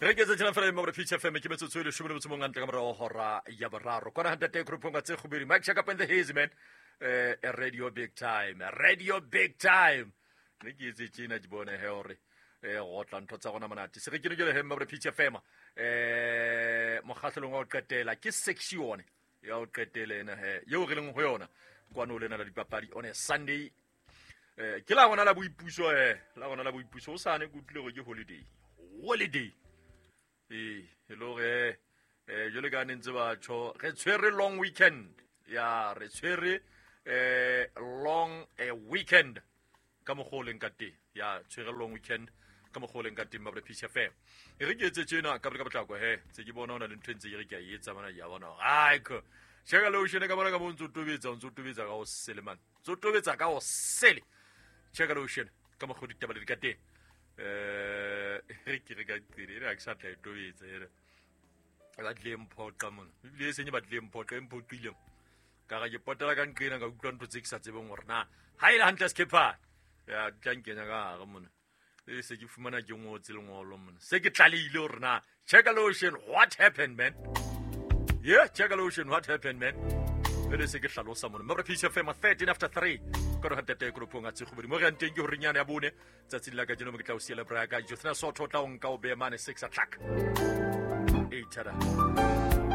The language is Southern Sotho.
Re ke tse fela mo re Peach FM ke metsotso e leshome le motso mongwe ntle ka morago hora ya boraro. Kwana hantate group nga tse gobedi Mike Chaka and the Hazy man. Radio big time. Radio big time. Ne ke etse tjena ke bone he hore go tla ntho tsa gona monate. Se re ke ne ke le he mo re Peach FM. Mokgahlelong wa ho qetela ke section ya ho qetela ena he yeo re leng ho yona kwano lena la dipapadi on a Sunday. Ke la gona la boipuso la gona la boipuso o sane ke utlwile gore ke holiday holiday ee e le gore jwale ka ne ntse ba tjho re tshwere long weekend ya re tshwere long weekend ka mokgwa o leng ka teng ya tshwere long weekend ka mokgwa o leng ka teng mabre Peach FM e re ke etse tjena ka ka potlako he tse ke bona o na le ntho e ntse ke re ke a e etsa mana ya bona ai ko cheka lotion ka bona ka mo ntse o tobetsa o ntse o tobetsa ka o sele man tso tobetsa ka o sele cheka lotion ka mokgwa ditaba le di ka teng re ke re ka qele ere ha ke sa tla e tobetsa ere ba tlile mphoqa mona ebile e senye ba tlile mphoqa e mphoqile ka ga ke potela ka nqena ka utlwa ntho tse ke sa tsebeng gore na ha e le hantle sekhepha ya tla nkenya ka gare mona e se ke fumana ke ngotse lengolo mona se ke tlalehile gore na cheka lotion what happened man yeah cheka lotion what happened man pele se ke hlalosa mona mme re Peach FM 13 after 3 ka re hatete group nga tse gobedi mo re yang teng ke hore nyana ya bone tsatsing la kajeno mo ke tla o siela braka Jothna Sotho tla o nka o beya mane 6 o'clock. Eight tada.